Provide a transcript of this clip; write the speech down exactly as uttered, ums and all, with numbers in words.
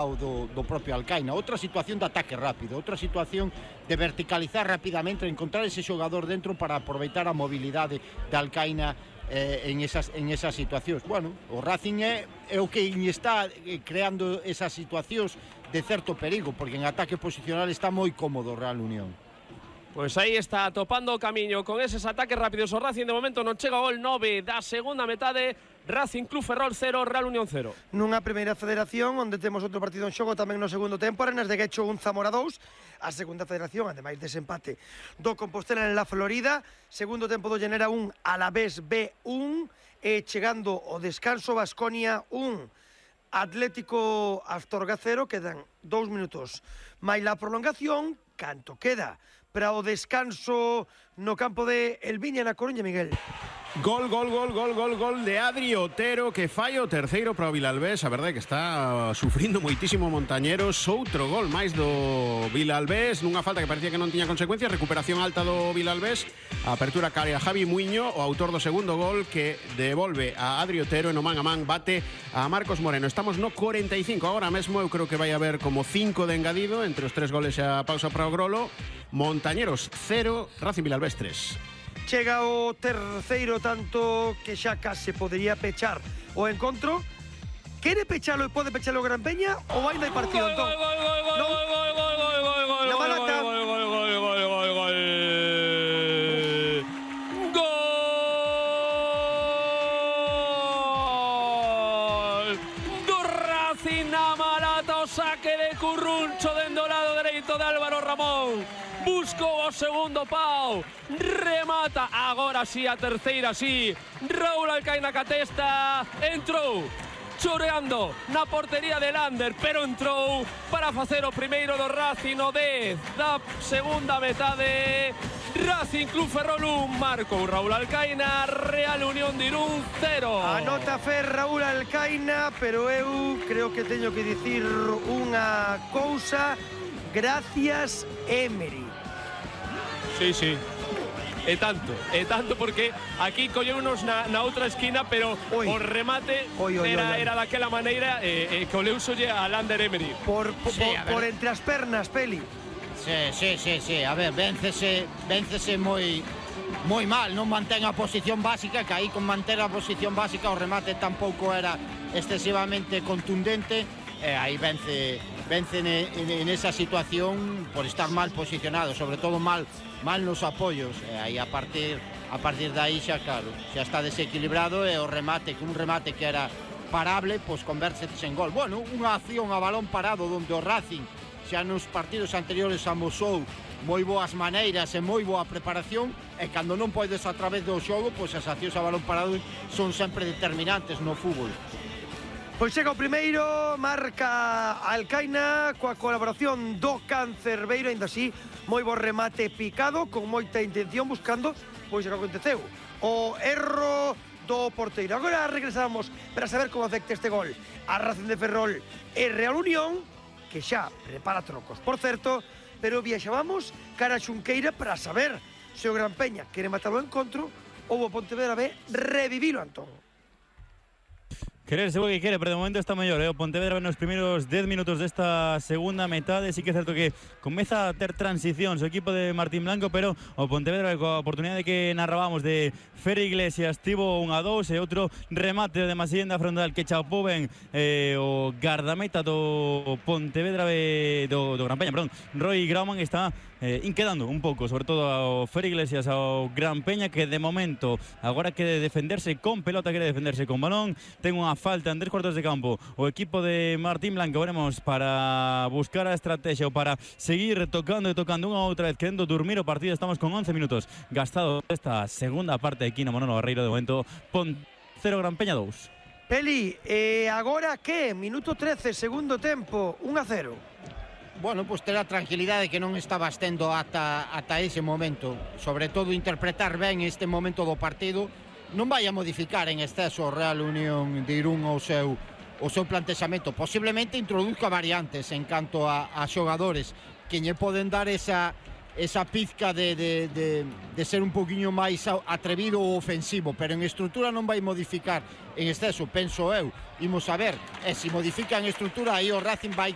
Do, do propio Alcaina, outra situación de ataque rápido, outra situación de verticalizar rapidamente, encontrar ese xogador dentro para aproveitar a mobilidade de Alcaina eh, en, esas, en esas situacións. Bueno, o Racing é, é o que está creando esas situacións de certo perigo, porque en ataque posicional está moi cómodo o Real Unión. Pois aí está topando o camiño con eses ataques rápidos o Racing. De momento non chega o gol. Nove da segunda metade. Racing Club Ferrol cero, Real Unión cero. Nunha primeira federación onde temos outro partido en xogo tamén no segundo tempo, Arenas de Guecho un, Zamora dous. A segunda federación, ademais dese empate do Compostela en la Florida. Segundo tempo do Llanera un, Alavés B un. E chegando o descanso, Baskonia un, Atlético Astorga cero. Quedan dous minutos máis la prolongación. Canto queda para o descanso no campo de Elviña na Coruña, Miguel? Gol, gol, gol, gol, gol, gol de Adri Otero, que falla o terceiro para o Vilalbés. A verdade é que está sufrindo moitísimo Montañeros. Outro gol máis do Vilalbés, nunha falta que parecía que non tiña consecuencias. Recuperación alta do Vilalbés. A apertura cae a Javi Muiño, o autor do segundo gol, que devolve a Adri Otero e no man a man bate a Marcos Moreno. Estamos no cuarenta e cinco agora mesmo. Eu creo que vai haber como cinco de engadido entre os tres goles e a pausa para o Grolo. Montañeros cero, Racing Vilalbés tres. Chega o terceiro tanto que xa case podería pechar o encontro. Quere pechalo e pode pechalo Gran Peña ou ainda hai partido? Gol, gol, gol, gol, gol, gol, gol, gol, gol, gol, La Malata. gol, gol, gol, gol, gol, gol, gol. Gol do Racing na Malata, o saque de Curruncho dende o lado dereito de Álvaro Ramón. Buscou o segundo pau, remata, agora sí a terceira sí, Raúl Alcaina Catesta, entrou, choreando na portería de Lander, pero entrou para facer o primeiro do Racing no dez da segunda metade. Racing Club Ferrol un, marcou Raúl Alcaina, Real Unión de Irún cero. Anota Fer Raúl Alcaina, pero eu creo que teño que dicir unha cousa. Gracias, Emery. Sí, sí. E tanto, e tanto porque aquí colleunos na, na outra esquina, pero Oi. o remate Oi, oi, era, oi, oi. era daquela maneira e, e coleusolle a Lander Emery. Por, por, Sí, a ver. por entre as pernas, Peli. Sí, sí, sí, sí, a ver, véncese, véncese moi moi mal, non mantén a posición básica, que aí con manter a posición básica o remate tampouco era excesivamente contundente, e aí vence vence en, en, en esa situación por estar mal posicionado, sobre todo mal mal nos apoios, e aí a partir a partir de aí xa claro, xa está desequilibrado e o remate, que un remate que era parable, pois convértese en gol. Bueno, unha acción a balón parado onde o Racing xa nos partidos anteriores amosou moi boas maneiras e moi boa preparación, e cando non podes a través do xogo, pois as accións a balón parado son sempre determinantes no fútbol. Pois chega o primeiro, marca Alcaina coa colaboración do Cancerbeiro, ainda así, moi bo remate picado, con moita intención, buscando, pois o que aconteceu, o erro do porteiro. Agora regresamos para saber como afecta este gol a Racing de Ferrol e Real Unión, que xa prepara trocos, por certo, pero viaxábamos cara a Xunqueira para saber se o Gran Peña quere matar o encontro ou o Pontevedra ve revivilo, Antón. Querer seguro que quere, pero de momento está mellor, eh? O Pontevedra nos primeiros dez minutos desta segunda metade. Sí que é certo que comeza a ter transicións o equipo de Martín Blanco, pero o Pontevedra coa oportunidade que narrábamos de Fer Iglesias tivo un a dous e outro remate de Masillenda frontal que chapou ben eh, o gardameta do Pontevedra de, do, do Gran Peña, perdón, Roy Grauman está eh, inquedando un pouco, sobre todo ao Fer Iglesias, ao Gran Peña, que de momento agora quere defenderse con pelota, quere defenderse con balón, ten unha falta en tres cuartos de campo o equipo de Martín Blanco, veremos, para buscar a estrategia ou para seguir tocando e tocando unha outra vez, querendo dormir o partido. Estamos con once minutos gastados esta segunda parte aquí no Manolo Barreiro. De momento Pon cero, Gran Peña dous. Peli, e agora que? Minuto trece, segundo tempo, un a cero. Bueno, pois ter a tranquilidade que non estabas tendo ata, ata ese momento, sobre todo interpretar ben este momento do partido. Non vai a modificar en exceso o Real Unión de Irún o seu, o seu plantexamento. Posiblemente introduzca variantes en canto a, a xogadores que lle poden dar esa, esa pizca de, de, de, de ser un poquinho máis atrevido ou ofensivo, pero en estrutura non vai modificar en exceso, penso eu. Imos a ver, e se modifica en estrutura, aí o Racing vai